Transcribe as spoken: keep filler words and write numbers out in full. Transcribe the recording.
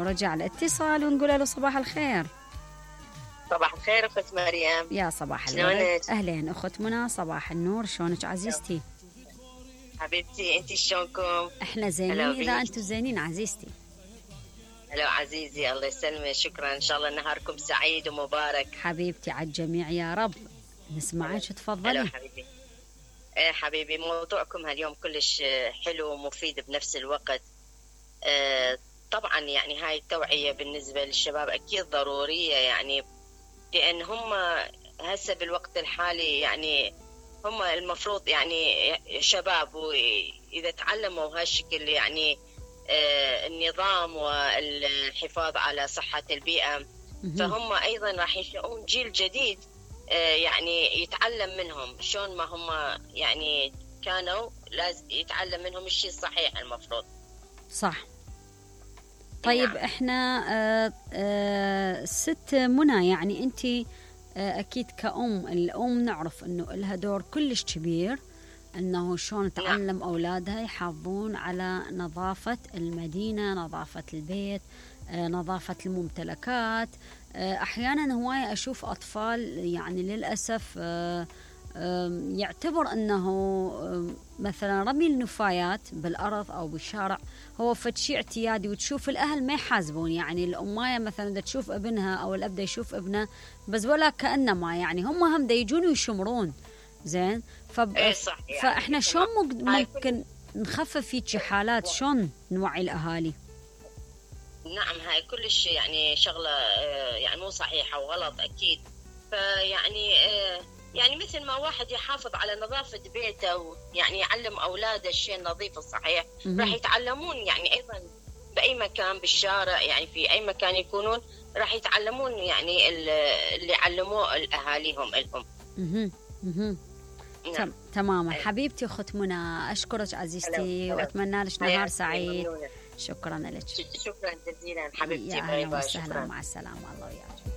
ورجع الاتصال ونقول له صباح الخير. صباح الخير أخت مريم. يا صباح الورد. أهلين أخت منى، صباح النور، شلونك عزيزتي؟ حبيبتي أنتي شلونكم؟ إحنا زينين إذا أنتم زينين عزيزتي. هلا عزيزي، الله يسلمك، شكرا، إن شاء الله نهاركم سعيد ومبارك. حبيبتي على الجميع يا رب. نسمعك تفضلي. هلا حبيبي. إيه حبيبي، موضوعكم هاليوم كلش حلو ومفيد بنفس الوقت. آه طبعا يعني هاي التوعية بالنسبة للشباب أكيد ضرورية، يعني لأن هم هسه بالوقت الحالي يعني هم المفروض يعني شباب، وإذا تعلموا هالشكل يعني آه النظام والحفاظ على صحة البيئة، فهم أيضا راح ينشؤون جيل جديد آه يعني يتعلم منهم شلون ما هم يعني كانوا، لازم يتعلم منهم الشيء الصحيح المفروض. صح. طيب نعم. احنا آه آه ست منى، يعني انت آه اكيد كأم، الام نعرف انه لها دور كلش كبير انه شلون تعلم نعم. اولادها يحافظون على نظافة المدينة، نظافة البيت، آه نظافة الممتلكات. آه احيانا هواية اشوف اطفال يعني للاسف آه يعتبر أنه مثلا رمي النفايات بالأرض أو بالشارع هو فتشي اعتيادي، وتشوف الأهل ما يحاسبون، يعني الأماية مثلا دا تشوف ابنها أو الأب دا يشوف ابنه بس ولا كأنما يعني هم هم دا يجون ويشمرون. زين. فب... إيه صح يعني. فإحنا شلون ممكن نخفف في حالات، شلون نوعي الأهالي؟ نعم هاي كلش يعني شغلة يعني مو صحيحة وغلط أكيد. فيعني يعني مثل ما واحد يحافظ على نظافة بيته يعني يعلم أولاده الشيء النظيف الصحيح، راح يتعلمون يعني أيضا بأي مكان بالشارع، يعني في أي مكان يكونون راح يتعلمون يعني اللي علموه الأهاليهم لهم. نعم. تماما. حبيبتي أخت منى، أشكرك عزيزتي وأتمنى لك نهار سعيد. شكرا لك. شكرا جزيلا حبيبتي. يا أهلا وسهلا، مع السلامة، الله وياك.